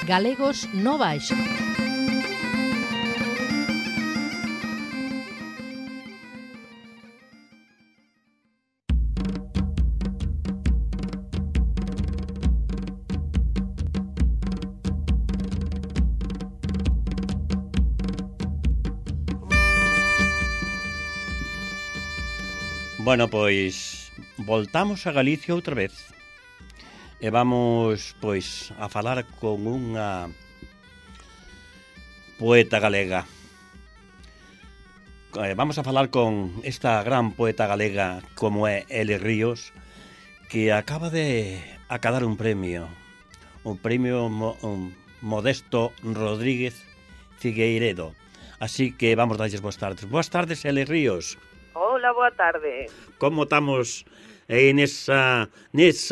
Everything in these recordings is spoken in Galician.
Galegos no Baixo. Bueno, pois voltamos a Galicia outra vez e vamos, pois, a falar con unha poeta galega. Vamos a falar con esta gran poeta galega como é Eli Ríos, que acaba de acadar un premio Modesto Rodríguez Figueiredo. Así que vamos darlles boas tardes. Boas tardes, Eli Ríos. Hola, boa tarde. Como estamos nesa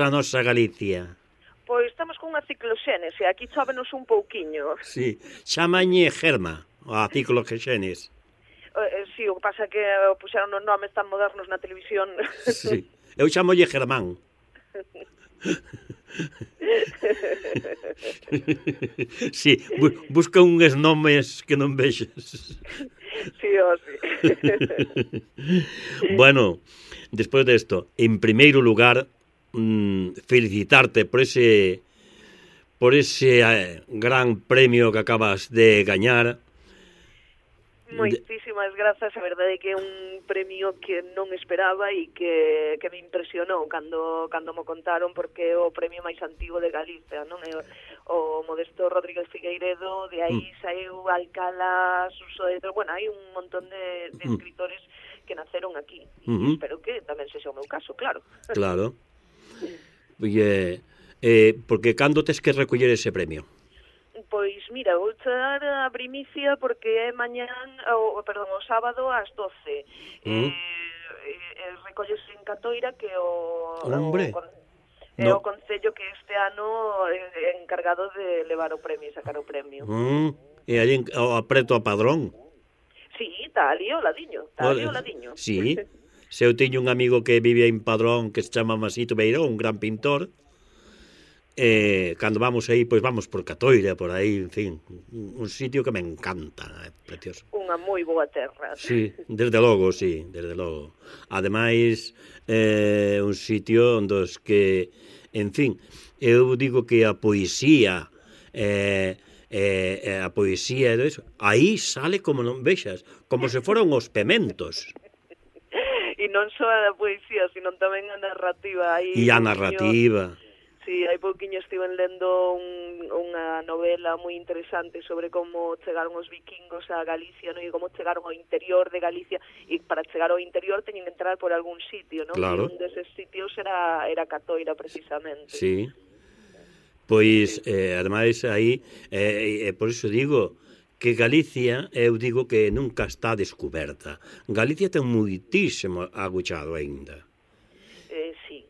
nosa Galicia? Pois estamos con unha cicloxénese, aquí chóvenos un pouquiño. Sí, chamañe Germa, a cicloxénese. Sí, o que pasa é que puxeron os nomes tan modernos na televisión. Sí, eu chamolle Germán. Sí, busca uns nomes que non vexes. Sí, o sí. Bueno, despois desto, en primeiro lugar, felicitarte por ese gran premio que acabas de gañar. Moitísimas grazas, a verdade é que é un premio que non esperaba e que me impresionou cando mo contaron, porque é o premio máis antigo de Galicia, non? É o Modesto Rodríguez Figueiredo, de aí saiu Alcalá, Suso de... Bueno, hai un montón de escritores que naceron aquí. Espero que tamén sexa o meu caso, claro. Claro. Porque cando tes que recoller ese premio? Pois mira, vou dar a primicia porque é o sábado ás 12. Recollese en Catoira, que é o concello que este ano é encargado de levar o premio e sacar o premio. E ali apreto a Padrón? Sí, está ali ao ladiño. Sí, se eu teño un amigo que vive en Padrón que se chama Masito Beiró, un gran pintor. Cando vamos aí, pois vamos por Catoira, por aí, en fin, un sitio que me encanta, precioso. Unha moi boa terra. Sí, desde logo, sí, desde logo. Ademais, un sitio onde os que, en fin, eu digo que a poesía, aí sale como non vexas, como se foran os pementos. E non só a poesía, sino tamén a narrativa. E a narrativa. Sí, hai pouquiño estiven lendo unha novela moi interesante sobre como chegaron os vikingos a Galicia, non? E como chegaron ao interior de Galicia, e para chegar ao interior teñen que entrar por algún sitio, non? Claro. E un deses sitios era Catoira, precisamente. Sí. Pois, ademais, aí, por iso digo que Galicia, eu digo que nunca está descoberta. Galicia ten moitísimo aguchado aínda. Sí.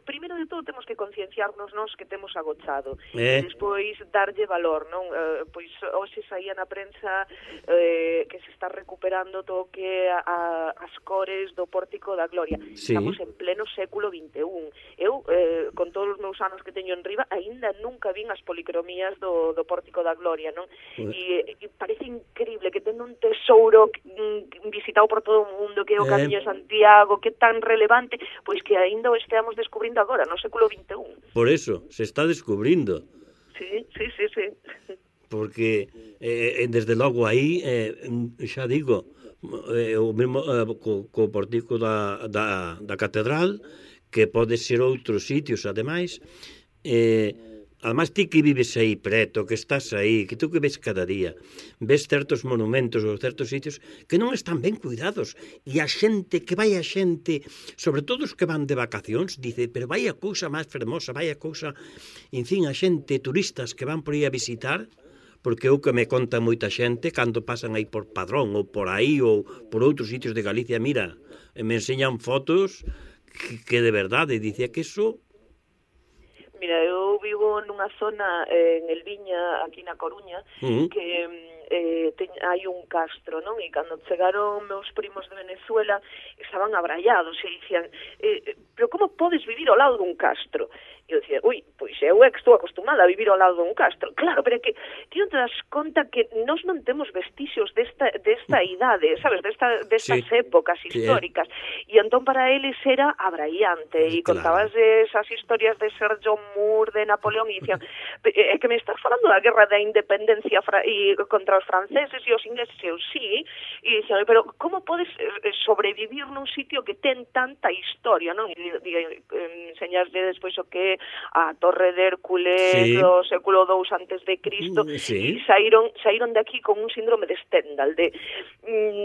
Primeiro de todo temos que concienciarnos nós que temos agochado e despois darlle valor, non? Pois hoxe saía na prensa que se está recuperando todo que as cores do Pórtico da Gloria. Sí. Estamos en pleno século XXI. Eu, con todos os meus anos que teño en riba, aínda nunca vin as policromías do Pórtico da Gloria, non? E parece increíble que ten un tesouro visitado por todo o mundo, que é o Camiño de Santiago, que é tan relevante, pois que aínda o esteamos descubrindo agora, no século XXI. Por eso, se está descubrindo. Sí. Porque, desde logo aí, xa digo, o mesmo co portico da catedral, que pode ser outros sitios, ademais, ademais ti que vives aí preto, que estás aí, que tú que ves cada día, ves certos monumentos ou certos sitios que non están ben cuidados, e a xente, sobre todo os que van de vacacións, dice, pero vai a cousa máis fermosa, vai a cousa, en fin, a xente, turistas que van por aí a visitar, porque o que me conta moita xente, cando pasan aí por Padrón, ou por aí, ou por outros sitios de Galicia, mira, me enseñan fotos que de verdade, dicía que eso... Mira, eu vivo nunha zona en Elviña, aquí na Coruña, que hai un castro, non? E cando chegaron meus primos de Venezuela estaban abrallados e dicían, pero como podes vivir ao lado dun castro? E eu dicía, ui, pois eu é que estou acostumada a vivir ao lado dun castro. Claro, pero é que ti non te das conta que nós non temos vestixios desta idade, sabes, destas épocas históricas. E entón para eles era abraiante, e contabas esas historias de Sergio Moore, de Napoleón, e dicían, é que me estás falando da guerra da independencia contra os franceses e os ingleses, e eu sí, e dicían, pero como podes sobrevivir nun sitio que ten tanta historia, non? E enseñasle despois o que a Torre de Hércules do século II antes de Cristo, e saíron de aquí con un síndrome de Stendhal, de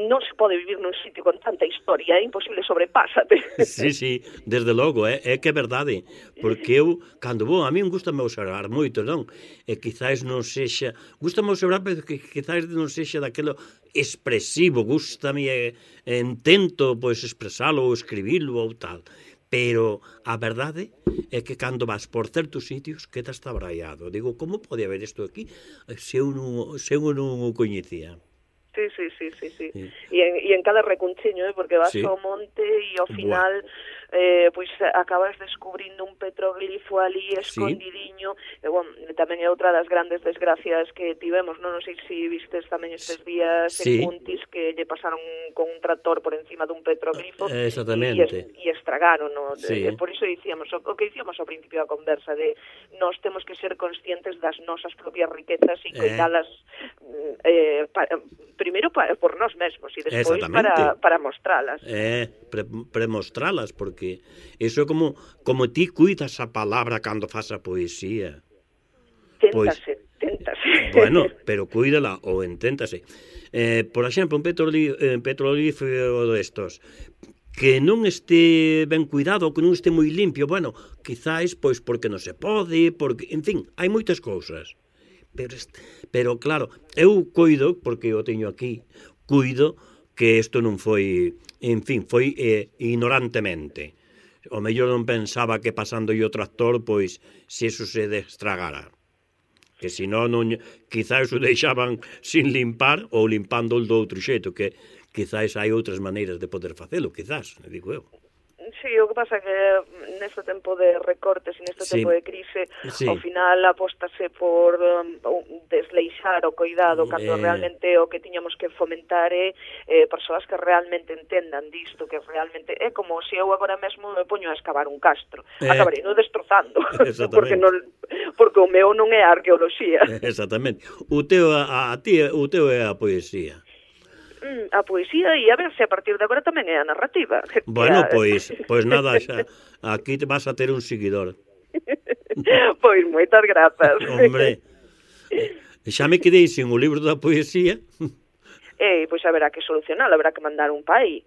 non se pode vivir nun sitio con tanta historia, é imposible, sobrepásate. Sí, desde logo, é que é verdade, porque eu, cando vou, a mí gustame observar moito, non? E quizás non sexa, gustame observar, pero que quizás non sexa daquelo expresivo, gustame, intento, pois, expresalo ou escribilo ou tal. Pero a verdade é que cando vas por certos sitios quedas tabraiado. Digo, como pode haber isto aquí se eu non o coñecía? Sí. E en cada recunchiño, porque vas ao monte e ao final pois acabas descubrindo un petroglifo ali escondidiño. E, bueno, tamén é outra das grandes desgracias que tivemos, non sei se vistes tamén estes días en Puntis que lle pasaron con un tractor por encima dun petroglifo e estragaron, no? Por iso dicíamos, o que dicíamos ao principio da conversa, de nós temos que ser conscientes das nosas propias riquezas e coidalas primeiro por nós mesmos e despois para mostralas. Para mostralas, porque iso é como ti cuidas a palabra cando faz a poesía. Téntase. Bueno, pero cuídala ou inténtase. Por exemplo, un petrolífero destos que non este ben cuidado, que non este moi limpio, bueno, quizás pois porque non se pode, porque, en fin, hai moitas cousas. Pero claro, eu cuido, porque eu teño aquí, cuido que isto non foi, en fin, foi ignorantemente. O mellor non pensaba que pasando o tractor, pois, se iso se destragara. Que senón, quizás o deixaban sin limpar ou limpando do outro xeito, que quizás hai outras maneiras de poder facelo, quizás, digo eu. Sí, o que pasa é que neste tempo de recortes e neste tempo de crise, ao final apóstase por desleixar o cuidado, cando realmente o que tiñamos que fomentar é persoas que realmente entendan disto, que realmente é como se eu agora mesmo me poño a escavar un castro, acabarei non destrozando, porque o meu non é a arqueoloxía. Exactamente. O teu é a poesía. A poesía, e a ver se a partir de agora tamén é a narrativa. Bueno, pois nada, xa, aquí te vas a ter un seguidor. Pois moitas grazas. Hombre, xa me quedei sin o libro da poesía. Pois haberá que solucionar, haberá que mandar un pa aí.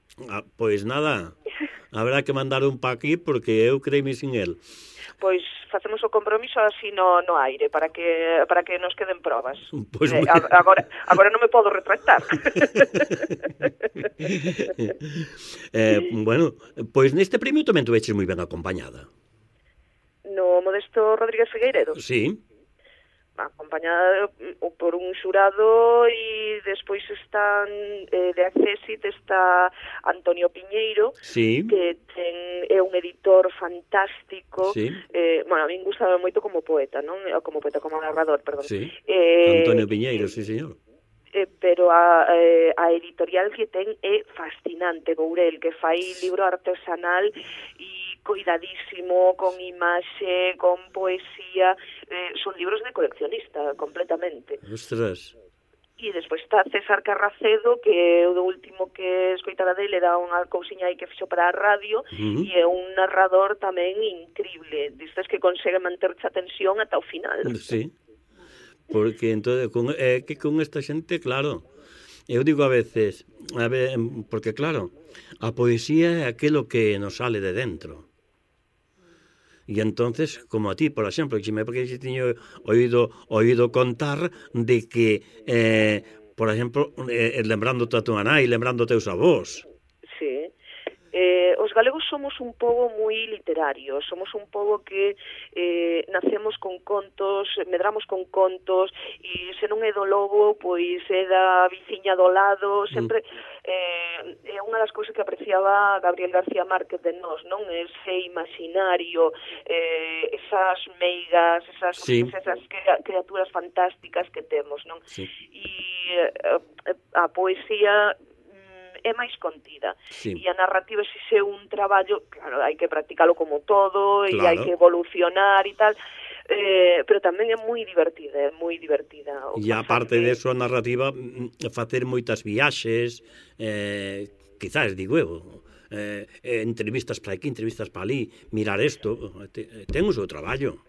Pois nada, haberá que mandar un pa aquí porque eu creime sin el. Pois facemos o compromiso así no aire para que nos queden probas. Pues agora non me podo retractar. Bueno, pois neste premio tamén tu veches moi ben acompañada. No Modesto Rodríguez Figueiredo? Sí. Acompañada por un xurado e despois están de Accessit está Antonio Piñeiro, que é un editor fantástico. Bueno, a min gustaba moito como poeta, non? Como narrador, perdón. Antonio Piñeiro, sí, señor. Pero a editorial que ten é fascinante, Bourel, que fai libro artesanal e cuidadísimo, con imaxe, con poesía, son libros de coleccionista, completamente. Ostras. E despois está César Carracedo, que o do último que escoitara dele era unha cousiña aí que fixo para a radio, e é un narrador tamén increíble, distes que consegue manterse a tensión ata o final. Sí, porque entón, que con esta xente, claro, eu digo a veces, porque claro, a poesía é aquilo que nos sale de dentro. E entonces, como a ti, por exemplo, porque xe tiño oído contar de que, por exemplo, lembrándote a tua nai, lembrándote os avós. Sí. Os galegos somos un pobo moi literario, somos un pobo que nacemos con contos, medramos con contos, e se non é do lobo, pois é da viciña do lado, sempre é unha das cousas que apreciaba Gabriel García Márquez de nós, non? Ese imaginario esas meigas, esas criaturas fantásticas que temos, non? Sí. E a poesía é máis contida. Sí. E a narrativa é un traballo, claro, hai que practicalo como todo, e hai Claro. que evolucionar e tal, pero tamén é moi divertida, E aparte de eso, a narrativa, facer moitas viaxes, quizás, digo eu, entrevistas para aquí, entrevistas para ali, mirar isto, ten o seu traballo.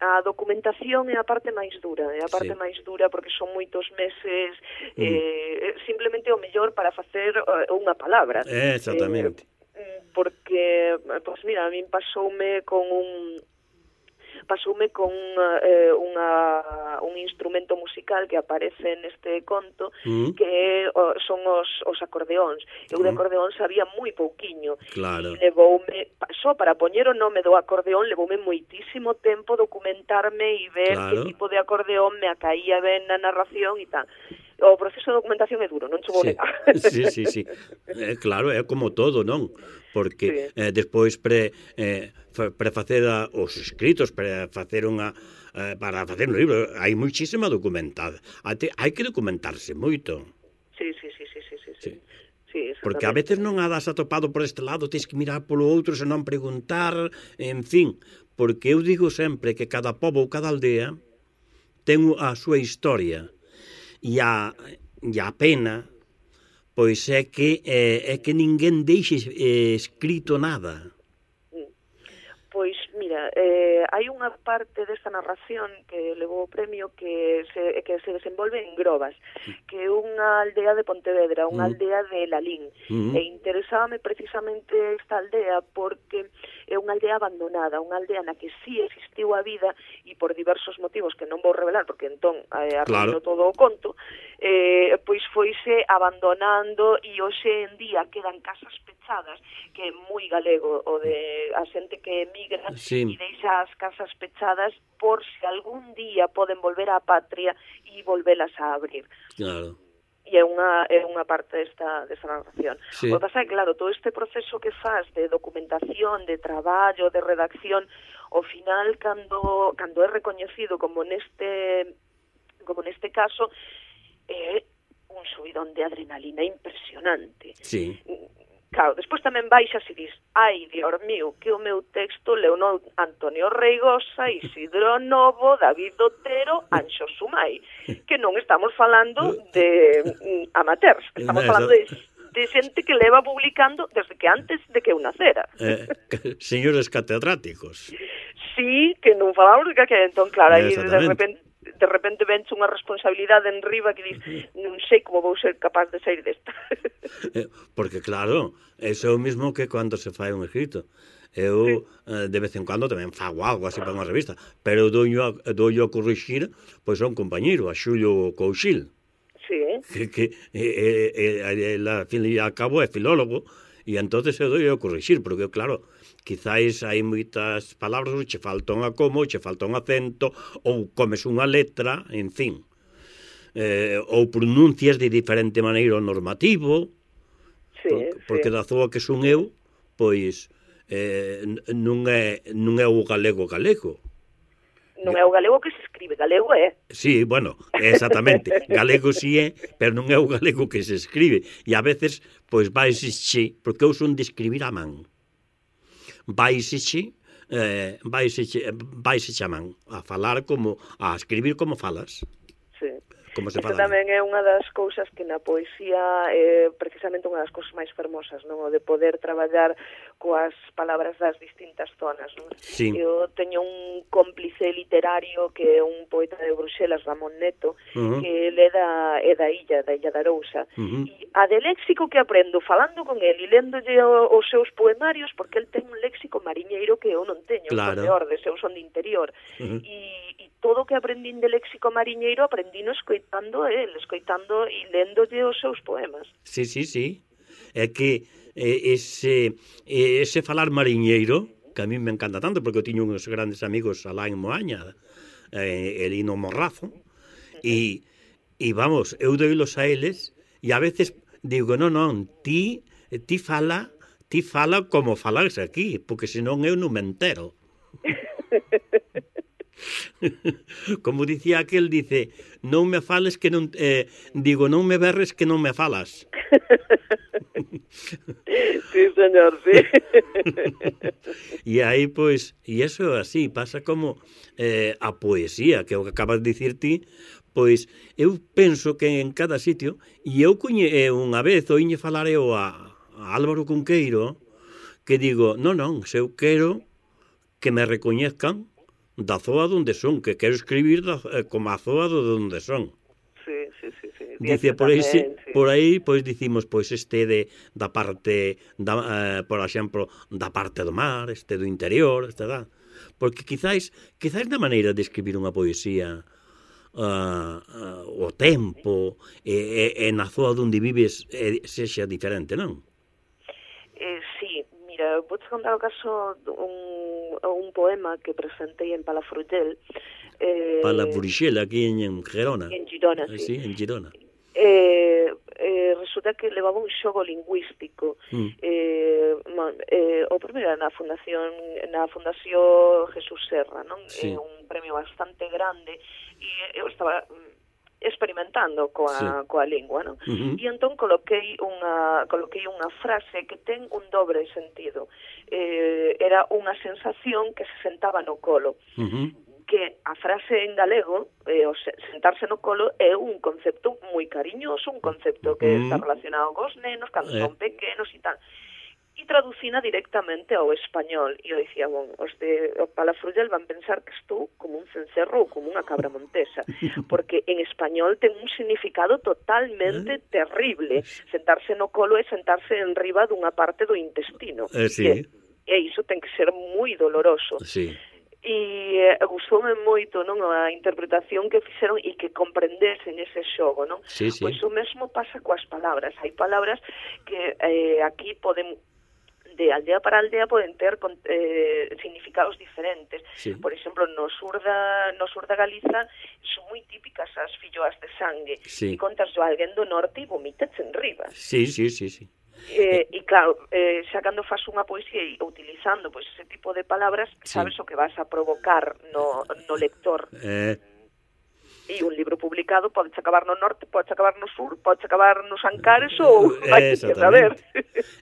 A documentación é a parte máis dura, porque son moitos meses simplemente o mellor para facer unha palabra. Exactamente. Porque, pois mira, a min pasoume con un instrumento musical que aparece neste conto, que son os acordeóns. Eu de acordeón sabía moi pouquiño. Claro. E levoume, só para poñer o nome do acordeón, levoume moitísimo tempo documentarme e ver que tipo de acordeón me acaía ben na narración e tal. O proceso de documentación é duro, non che vou negar. Sí. Claro, é como todo, non? Porque despois para facer os escritos, para facer un libro, hai muchísima documentada. Hai que documentarse moito. Sí. Porque a veces non a das atopado por este lado, tens que mirar polo outro, senón preguntar, en fin. Porque eu digo sempre que cada pobo ou cada aldea ten a súa historia. E a pena, pois é que ninguén deixe escrito nada. Pois, mira, hai unha parte desta narración que levou o premio que se desenvolve en Grobas, que é unha aldea de Pontevedra, unha aldea de Lalín. E interesábame precisamente esta aldea porque é unha aldea abandonada, unha aldea na que sí existiu a vida e por diversos motivos que non vou revelar porque entón arruino todo o conto, pois foise abandonando e hoxe en día quedan casas pechadas, que é moi galego o de a xente que emigra e deixa as casas pechadas por se algún día poden volver á patria e volvelas a abrir. Claro. E é unha parte desta narración. Sí. O que pasa é, claro, todo este proceso que faz de documentación, de traballo, de redacción, ao final, cando é recoñecido como neste caso, é un subidón de adrenalina impresionante. Sí. Claro, despois tamén baixas e dis, ai, Dios mío, que o meu texto leu Antonio Reigosa, Isidro Novo, David Otero, Anxo Sumai, que non estamos falando de amateurs, estamos falando de xente que leva publicando desde que antes de que eu nacera. Señores catedráticos. Sí, que non falamos de que entón, claro, aí de repente venche unha responsabilidade en riba que dis, non sei como vou ser capaz de sair desta. Porque claro, eso é o mismo que cando se fai un escrito. Eu de vez en cando tamén fago algo así para unha revista, pero doño a corrixir pois a un compañeiro, a Xulio Couchil. Sí. Que al fin e al cabo é filólogo, e entonces eu doi a corrixir, porque claro, quizáis hai moitas palabras che falta un acomo, che falta un acento, ou comes unha letra, en fin, ou pronuncias de diferente maneira o normativo, porque da zoa que son eu, pois non é o galego. Non é o galego que se escribe, galego é. Sí, bueno, exactamente, galego si é, pero non é o galego que se escribe, e a veces, pois vaise, porque eu son de escribir a man. Vaise a man, a falar como, a escribir como falas. Sí. Como se Isto fala. tamén é unha das cousas que na poesía é precisamente unha das cousas máis fermosas, non? O de poder traballar coas palabras das distintas zonas, non? Sí. Eu teño un cómplice literario que é un poeta de Bruxelas, Ramón Neto, que ele é da Illa de Arousa, e a de léxico que aprendo falando con ele e léndolle os seus poemarios, porque el ten un léxico mariñeiro que eu non teño, claro. Son de Ordes, eu son de interior, e todo o que aprendín de léxico mariñeiro aprendino escoitando e léndolle os seus poemas. Sí. É que ese falar mariñeiro, que a mí me encanta tanto, porque eu tiño uns grandes amigos alá en Moaña, Elino Morrazo, e vamos, eu doilos a eles, e a veces digo, non, ti fala como falas aquí, porque senón eu non me entero. Como dicía aquel, dice, non me fales que non... digo, non me berres que non me falas. Sí, señor, sí. E aí, pois, e eso así, pasa como a poesía, que é o que acabas de dicir ti, pois, eu penso que en cada sitio, e eu unha vez oíñe falar eu a Álvaro Cunqueiro, que digo, non, se eu quero que me recoñezcan da zoa donde son, que quero escribir como a zoa donde son. Sí. Dice, por aí, pois dicimos, pois da parte, por exemplo, da parte do mar, do interior, porque quizáis na maneira de escribir unha poesía, o tempo, e na zoa onde vives sexa diferente, non? Sí, mira, vou te contar o caso un poema que presentei en Palafrugell. Palafrugell, aquí en Gerona. En Girona, sí. En Girona. Resulta que levaba un xogo lingüístico. O primeiro era na Fundación Jesús Serra, non? Sí. Un premio bastante grande, e eu estaba experimentando coa lingua, non? E entón coloquei unha frase que ten un dobre sentido. Era unha sensación que se sentaba no colo. Que a frase en galego, o sentarse no colo, é un concepto moi cariñoso, un concepto que está relacionado cos nenos, cando son pequenos e tal. E traducina directamente ao español. E eu dicía, os de Palafrugell van pensar que estou como un cencerro ou como unha cabra montesa, porque en español ten un significado totalmente terrible. Sentarse no colo é sentarse en riba dunha parte do intestino. Sí. E iso ten que ser moi doloroso. Sí. E gustoume moito, non, a interpretación que fixeron e que comprendesen ese xogo, non? Sí. Pois o mesmo pasa coas palabras. Hai palabras que aquí poden, de aldea para aldea, poden ter significados diferentes. Sí. Por exemplo, no sur da Galiza son moi típicas as filloas de sangue. Sí. E contas a alguén do norte e vomitas en riba. Sí. E claro, xa cando faz unha poesía e utilizando pois ese tipo de palabras, sabes o que vas a provocar no lector. E un libro publicado podes acabar no norte, podes acabar no sur, podes acabar nos Ancares ou vai que saber.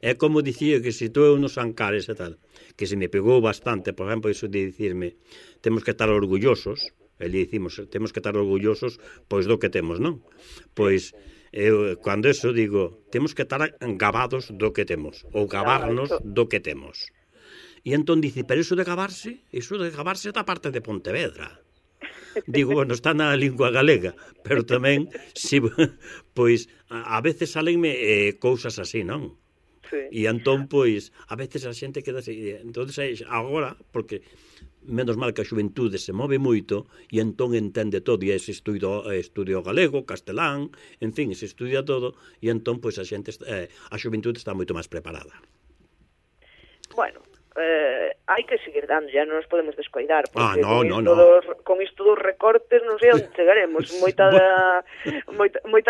É como dicía que se estou nos Ancares e tal, que se me pegou bastante, por exemplo, iso de dicirme, temos que estar orgullosos, e le dicimos, temos que estar orgullosos pois do que temos, non? Pois eu, cando eso digo, temos que estar gabados do que temos, ou gabarnos do que temos. E entón dice, pero iso de gabarse é da parte de Pontevedra. Digo, bueno, está na lingua galega, pero tamén, si, pois, a veces salenme cousas así, non? Sí. E entón, pois, a veces a xente queda así. Entón, agora, porque menos mal que a xuventude se move moito e entón entende todo, e ese estudio galego, castelán, en fin, se estudia todo, e entón, pois, a xuventude está moito máis preparada. Bueno, hai que seguir dando, ya non nos podemos descoidar, porque con isto dos recortes non sei onde chegaremos. Moitas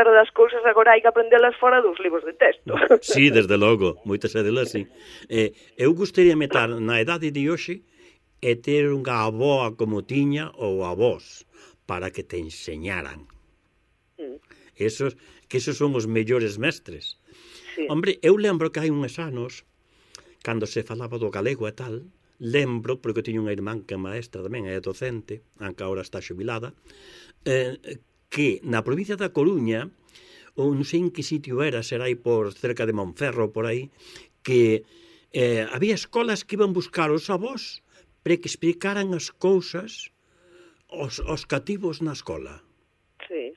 das cousas agora hai que aprendelas fora dos libros de texto. Sí, desde logo, moitas delas, sí. Eu gustaría meter na idade de hoxe e ter unha avoa como tiña ou avós para que te enseñaran. Esos son os mellores mestres. Sí. Hombre, eu lembro que hai uns anos, cando se falaba do galego e tal, lembro, porque eu tiño unha irmán que é maestra tamén, é docente, aunque agora está xubilada, que na provincia da Coruña, ou non sei en que sitio era, será aí por cerca de Monferro, por aí, que había escolas que iban buscar os avós para que explicaran as cousas aos cativos na escola. Sí.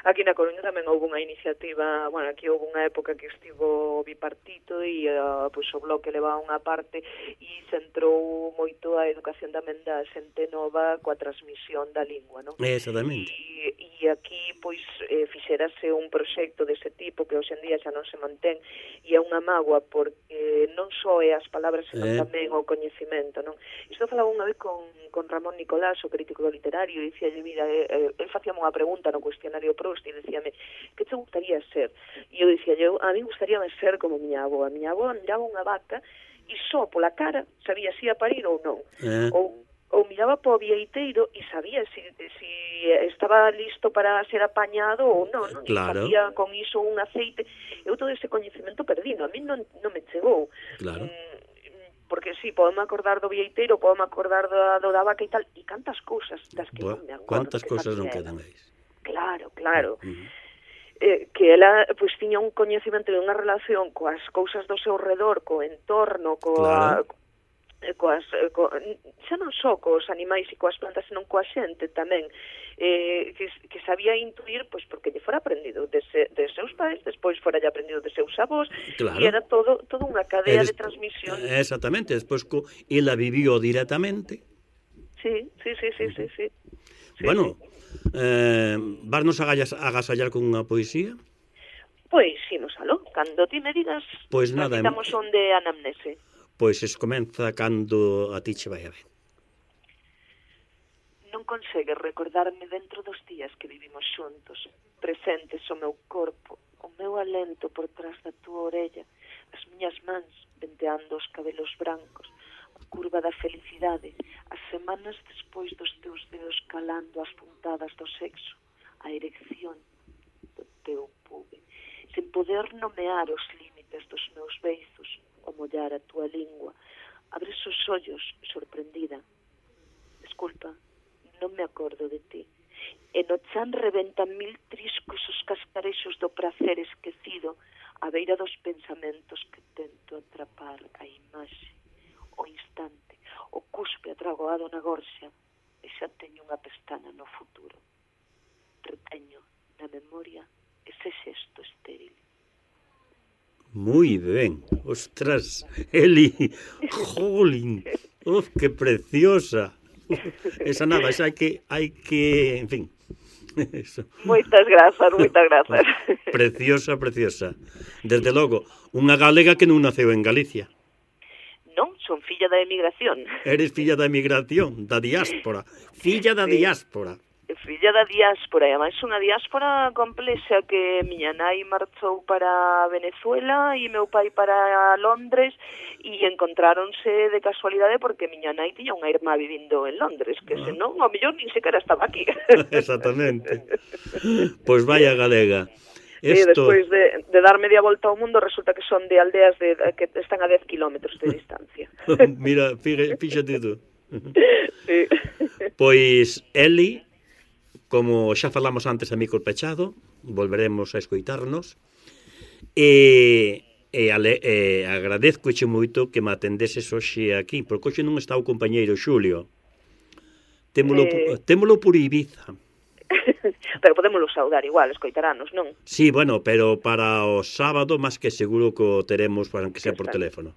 Aquí na Coruña tamén houve unha iniciativa, bueno, aquí houve unha época que estivo bipartito e pois o bloque levaba unha parte e centrou moito a educación tamén da xente nova coa transmisión da lingua, non? Exactamente. E aquí, pois, fixerase un proxecto dese tipo que hoxe en día xa non se mantén e é unha mágoa porque non só é as palabras, senón tamén o coñecimento, non? Isto falaba unha vez con Ramón Nicolás, o crítico literario, e dicíalle, mira, el facíame unha pregunta no cuestionario Proust e dicíame, que te gustaría ser? E eu dicíalle, a mí gustaríame ser como miña avó. A miña avó andaba unha vaca e só pola cara sabía se ia parir ou non. ou miraba para o vieiteiro e sabía si estaba listo para ser apañado ou non, non? Claro. Facía con iso un aceite. Eu todo ese coñecemento perdino, a mí non me chegou. Claro. Porque sí, podeme acordar do vieiteiro, podeme acordar do da vaca e tal, e cantas cousas das que non me acordo. Cuántas cousas non quedan aí. Claro. Que ela pois tiña un coñecemento e unha relación coas cousas do seu redor, co entorno, xa non só cos animais e coas plantas, senón coa xente tamén, que sabía intuir, pois porque lle fora aprendido de seus pais, despois fora lle aprendido de seus avós, e era todo unha cadea de transmisión. Exactamente, despois ela vivió directamente. Sí. Bueno, varnos agasallar con unha poesía? Pois, imos aló, cando ti me digas, pois nada, estamos onde anamnese. Pois comeza cando a ti che vai a ver. Non consegues recordarme dentro dos días que vivimos xuntos, presentes o meu corpo, o meu alento por trás da túa orella, as miñas mans venteando os cabelos brancos, a curva da felicidade, as semanas despois dos teus dedos calando as puntadas do sexo, a erección do teu pube, sen poder nomear os límites dos meus beizos, o mollar a túa lingua, abres os ollos sorprendida. Desculpa, non me acordo de ti. E no chan reventan 1000 triscos os cascarexos do prazer esquecido a beira dos pensamentos que tento atrapar a imaxe, o instante, o cuspe atragoado na gorxa, e xa teño unha pestana no futuro. Reteño na memoria ese xesto estéril. Muy ben, ostras, Eli, jolín, que preciosa. Esa nada, esa hai que, en fin. Eso. Moitas grazas. Preciosa. Desde logo, unha galega que non naceu en Galicia. Non, son filla da emigración. Eres filla da emigración, da diáspora. Filla da diáspora. Filla da diáspora, e ademais unha diáspora complexa, que miña nai marchou para Venezuela e meu pai para Londres, e encontráronse de casualidade porque miña nai tiña unha irmá vivindo en Londres, que senón, ao mellor, nin sequera estaba aquí. Exactamente. Pois vaya galega. Despois de dar media volta ao mundo, resulta que son de aldeas que están a 10 kilómetros de distancia. Mira, fíxate tú. Sí. Pois, Eli, como xa falamos antes a micro pechado, volveremos a escoitarnos, e agradezcoche moito que me atendeses hoxe aquí, porque hoxe non está o compañeiro Xulio. Témolo por Ibiza. Pero podémoslo saudar igual, escoitaranos, non? Sí, bueno, pero para o sábado, máis que seguro que o teremos, para que sea por teléfono.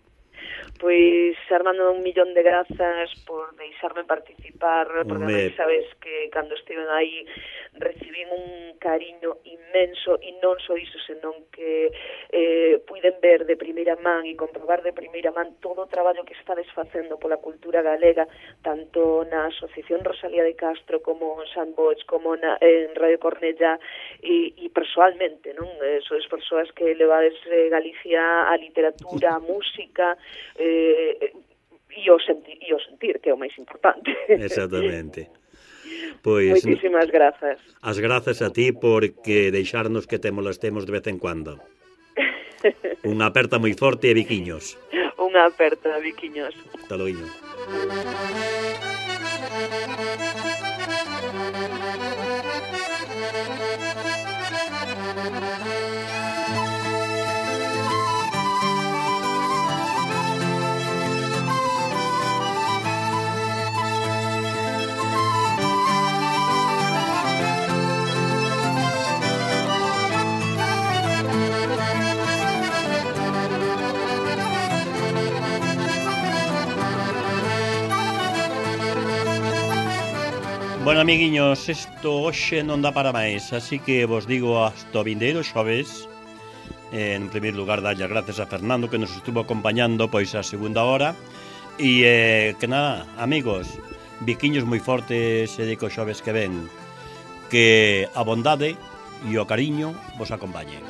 Pois, Armando, 1.000.000 de grazas por deixarme participar, porque sabes que cando estiven aí recibín un cariño inmenso, e non só iso, senón que puiden ver de primeira man e comprobar de primeira man todo o traballo que estades facendo pola cultura galega, tanto na Asociación Rosalía de Castro como en Sandbox, como en Radio Cornellá, e persoalmente, non? Sois persoas que levades Galicia a literatura, a música, e o sentir, que é o máis importante. Exactamente. Pois, moitísimas grazas. As grazas a ti porque deixarnos que te molestemos de vez en cuando. Unha aperta moi forte e biquiños. Unha aperta, biquiños. Hasta loiño. Bueno, amiguiños, isto hoxe non dá para máis, así que vos digo hasta o vindeiro xoves. En primeiro lugar, darlle as gracias a Fernando, que nos estuvo acompañando pois a segunda hora. E que nada, amigos, biquiños moi fortes e dico xoves que ven, que a bondade e o cariño vos acompañe.